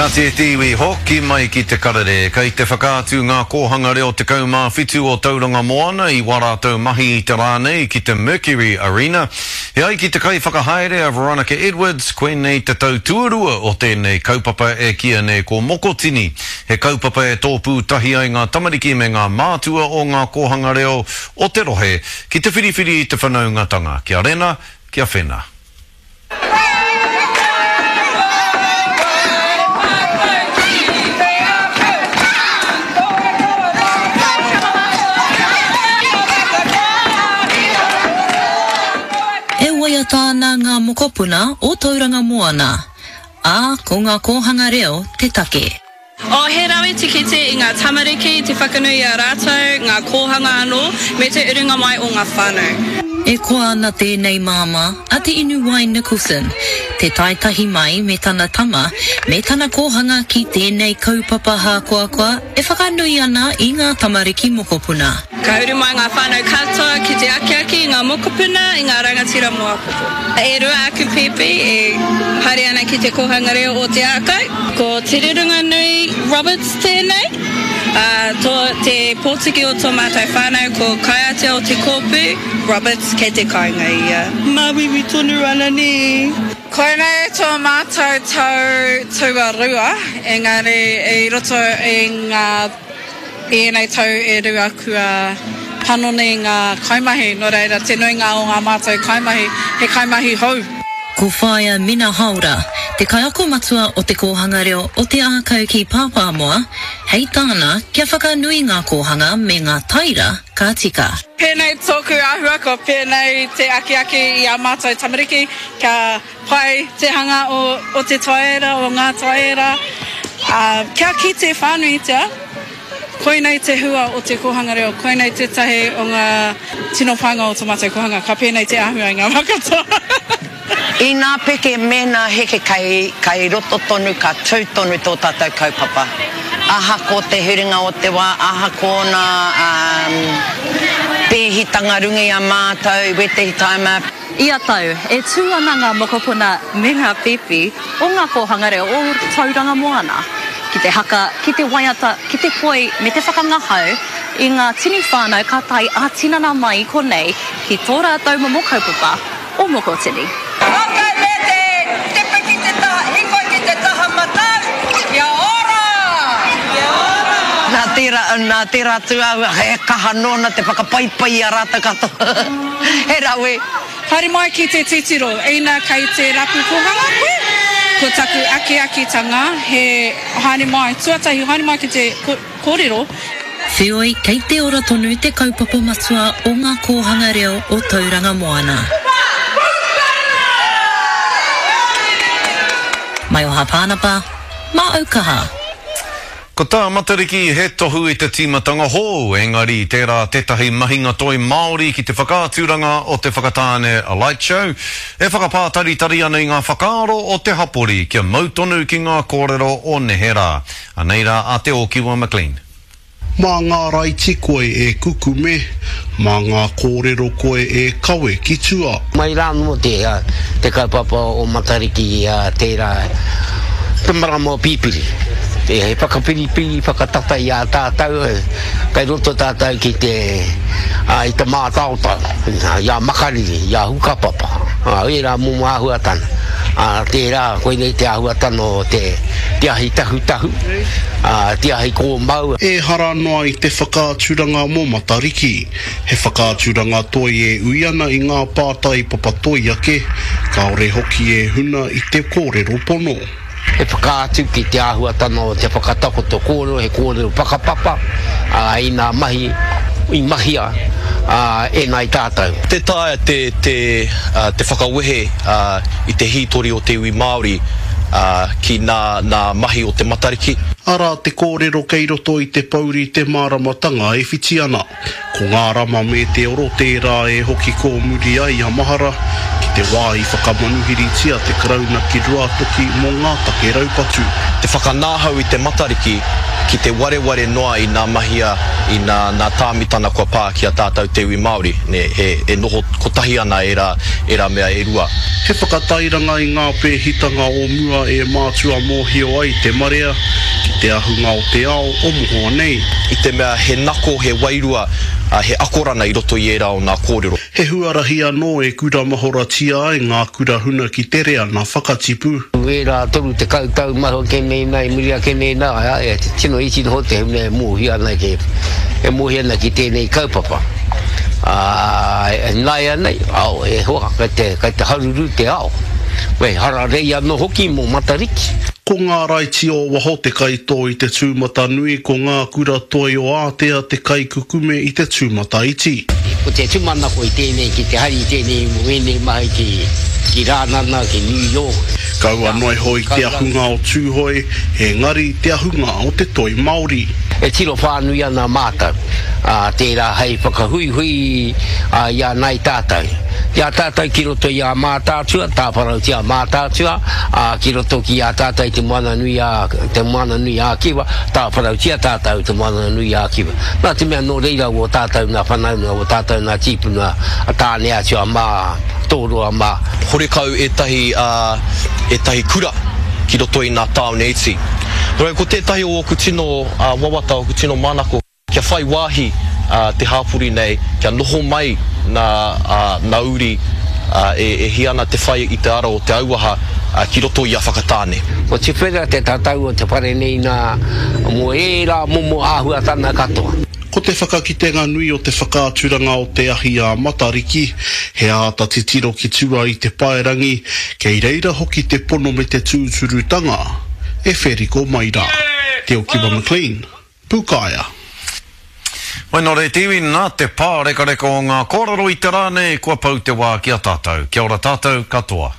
Kāti e te iwi, hoki mai ki te karere. Kei te whakaatu ngā kōhanga reo 17 o Tauranga Moana i wā rātou mahi i te rā nei ki te Mercury Arena. E ai ki te kaiwhakahaere a Veronica Edwards, koinei te tau tuarua o tēnei kaupapa e kīia nei ko Mokotini. He kaupapa e tōpū tahi ai ngā tamariki me ngā mātua o ngā kōhanga reo o te rohe ki te whiriwhiri i te whanaungatanga, kia rena, kia whena. E waiata ana ngā mokopuna o Tauranga Moana, ā, ko ngā kōhanga reo te take. Oh, he rawe te kite i ngā tamariki, te whakanui i a rātou, ngā kōhanga anō, me te urunga mai o ngā whānau. E koa ana tēnei māmā a Te Inuwai Nicholson, te tae tahi mai me tana tama, me tana kōhanga ki tēnei kaupapa hākoakoa e whakanui ana i ngā tamariki mokopuna. Ka uru mai ngā whānau katoa ki te akiaki i ngā mokopuna, i ngā rangatira mō āpōpō. E rua aku pēpi e haere ana ki te kōhanga reo o Te Ākau. Ko Te Rurunganui Roberts tēnei, ā, tō, te pōtiki o tō mātou whānau ko Kaiatea o Te Kōpū Roberts kei te kāinga ia. Māuiui tonu ana nē. Koinei tō mātou tau tuarua, engari i roto i ngā. I ēnei tau e rua kua panoni ngā kaimahi, nō reira te nuinga o ngā mātou kaimahi he kaimahi hou. Ko Whaea Mina Haora, te kaiako matua o Te Kōhanga Reo o Te Ākau ki Pāpāmoa, hei tāna kia whakanui ngā kōhanga me ngā taira ka tika. Pēnei tōku āhua, kua pēnei te akiaki i ā mātou tamariki kia Pai te hanga o te taera, o ngā taera, ā, kia kite whānuitia, koinei te hua o te kōhanga reo, koinei tētahi o ngā tino pānga o tō mātou kōhanga, ka pēnei te āhua i ngā wā katoa. Inā peke mēnā heke kei, kei roto tonu ka tū tonu tō tātou kaupapa. Ahako te huringa o te wā, ahako ōna pēhitanga runga i a mātou i wētehi tāima. Ia tau, e tū ana ngā mokopuna me ngā pēpi o ngā kōhanga reo o Tauranga Moana ki te haka, ki te waiata, ki te poi me te whakangahau i ngā tini whānau ka tae ā-tinana mai i konei ki tō rātou momo kaupapa o Mokotini. Ok me te tepe ki te taha hikoi ki te taha matau, kia ora! Kia ora! Nā tērā, nā tērā tūāhua he kaha nōna te whakapaipai i a rātou katoa. He rawe. Haere mai ki te titiro, ina kei te rapu kohanga koe, ko taku akiakitanga he haere mai, tuatahi haere mai ki te korero. Wheoi, kei te ora tonu te kaupapa matua o ngā kōhanga reo o Tauranga Moana. Maioha Pānapa, mā Aukaha. Ko tā Matariki he tohu i te tīmatanga hou, engari tērā tētahi mahinga toi Māori ki te whakaaturanga o te Whakatāne Light Show, e whakapātaritari ana i ngā whakaaro o te hapori kia mau tonu ki ngā kōrero o neherā. Anei rā a Te Ōkiwa McLean. Mā ngā raiti koe e kukume, mā ngā kōrero koe e kawe ki tua. Mai rā anō te kaupapa o Matariki tērā te marama o Pipiri. He whakapiripiri, whakatata i a tātou, kei roto tātou ki te, i te mātaotao, i a Makariri, i a Hukapapa, ērā momo āhuatanga. Tērā, koinei te āhuatanga o te ahi tahutahu, te ahi kōmau. Ehara noa i te whakaaturanga mō Matariki. He whakaaturanga toi e ui ana i ngā pātai papatoi ake, kāore hoki e huna i te kōrero pono. He whakaatu ki te āhuatanga o te whakatakoto kōrero, he kōrero whakapapa, ā, i ngā mahi i mahia e ngāi tātou. Tē taea te, te, te whakawehe i te hītori o te iwi Māori ki nā, nā mahi o te Matariki. Arā te kōrero kei roto i te pouri te māramatanga e whiti ana. Ko ngā rama me te oro tērā e hoki kōmuri ai a mahara ki te wā i whakamanuhiritia te Karauna ki Ruatoki mō ngā take raupatu. Te whakanāhau i te Matariki ki te wareware noa i nā mahia, i nā, nā tāmitana kua pā ki a tātou te iwi Māori, nē, he, e noho kotahi ana ērā, ērā mea e rua. He whakatairanga i ngā pēhitanga o mua e mātua mōhio ai te marea ki te ahunga o te ao o mohoa nei. I te mea he nako, he wairua, he akorana i roto i ērā o nā kōrero. He huarahi anō e kuramahoratia ai ngā kura huna ki te reanga whakatipu. Ērā 30 tau mahu ake nei nā, i muri ake nei nā, e tino iti noho te hunga e mōhio ana ki, e mōhio ana ki tēnei kaupapa. Ā, nāianei, ao, e hoa, kei te, kei te haruru te ao. Wei, hararei anō hoki mō Matariki. Ko ngā raiti o waho te kaitō i te tūmatanui, ko ngā kura toi o Ātea te kaikukume i te tūmataiti. Ko te tūmanako i tēnei ki te hari i tēnei mō ēnei mahi ki, ki Rānana, ki New York. Kaua noa iho i te ahunga o Tūhoe, engari te ahunga o te toi Māori. E tiro whānui ana mātou, ā, tērā hei whakahuihui i a nāi tātou. I a tātou ki roto i a Mātaatua, tāwharautia Mātaatua, ā, ki roto ki a tātou i Te Moananui a, Te Moananui a Kiwa, tāwharautia tātou i Te Moananui a Kiwa. Nā te mea nō reira wō tātou nā whanaunga, wō tātou nā tīpuna, a Tāneatua mā, Tōroa mā. Horekau ētahi, ā, ētahi kura ki roto i nā tāone iti. Nō reira, ko tētahi o ōku tino wawata, ōku tino manako, kia whai wāhi te hāpori nei, kia noho mai nā, nā uri e hia ana te whai i te ara o te auaha ki roto i a Whakatāne. Kua tuwhera te tatau o te whare nei nā, mō ērā momo āhuatana katoa. Ko te whakakitenga nui o te whakaaturanga o te ahi a Matariki, he āta titiro ki tua i te paerangi, kei reira hoki te pono me te tūturutanga e wheriko mai rā. Te Okiwa McLean, Pūkaea. Wai nō reira te iwi, nā te pārekareka o ngā kōrero i te rā nei, kua pau te wā ki a tātou. Kia ora tātou katoa.